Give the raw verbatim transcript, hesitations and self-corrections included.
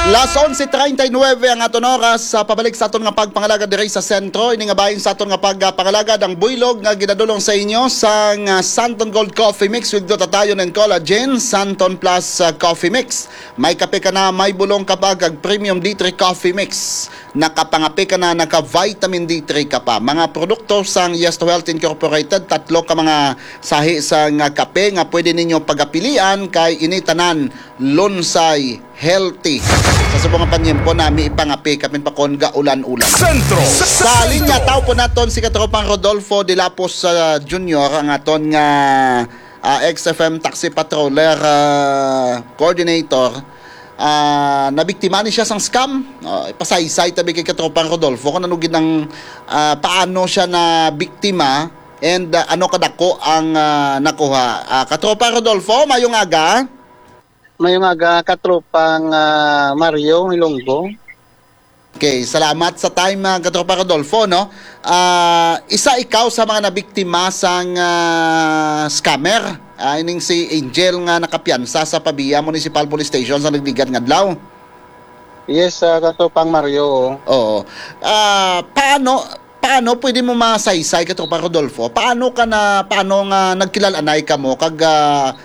Las onse treinta y nueve ang aton oras sa pabalik sa aton nga pagpangalagad diri sa sentro. Ini nga bahin sa aton nga pagpangalagad ang buylog nga ginadulong sa inyo sang, ah, Santon Gold Coffee Mix with glutathione and collagen, Santon Plus, ah, Coffee Mix. May kape ka na, may bulong ka pa, kag premium D three Coffee Mix. Nakapangape ka na, naka-vitamin D three ka pa. Mga produkto sang Yes to Health Incorporated, tatlo ka mga sahi sang kape nga pwede ninyo pagapilian kay ini tanan lunsay, healthy. Sa subong nga panyempo nami ipangape kapin pa kon gaulan-ulan. Sentro. Sa linya, tao po naton si Katropang Rodolfo de Lapos, ah, Junior, ang aton nga, ah, X F M Taxi Patroller, ah, Coordinator. Ah, nabiktima ni siya sang scam. Ah, ipasaysay tabi kay Katropang Rodolfo kung ano gid ang, ah, paano siya na biktima and, ah, ano kadako ang, ah, nakuha. Ah, Katropang Rodolfo, mayong aga. Mayong aga, katropang, ah, Mario Hilonggo. Okay, salamat sa time, ah, Katropa Rodolfo, no? Ah, isa ikaw sa mga nabiktima sang, ah, scammer. Ah, ining si Angel nga nakapiyansa sa Pavia Municipal Police Station sa nagligad nga adlaw. Yes, ah, Katropang Mario. Oo. Ah, paano, paano pwede mo masaysay, Katropa Rodolfo? Paano ka na, paano nga nagkilal-anay kamo kag, ah,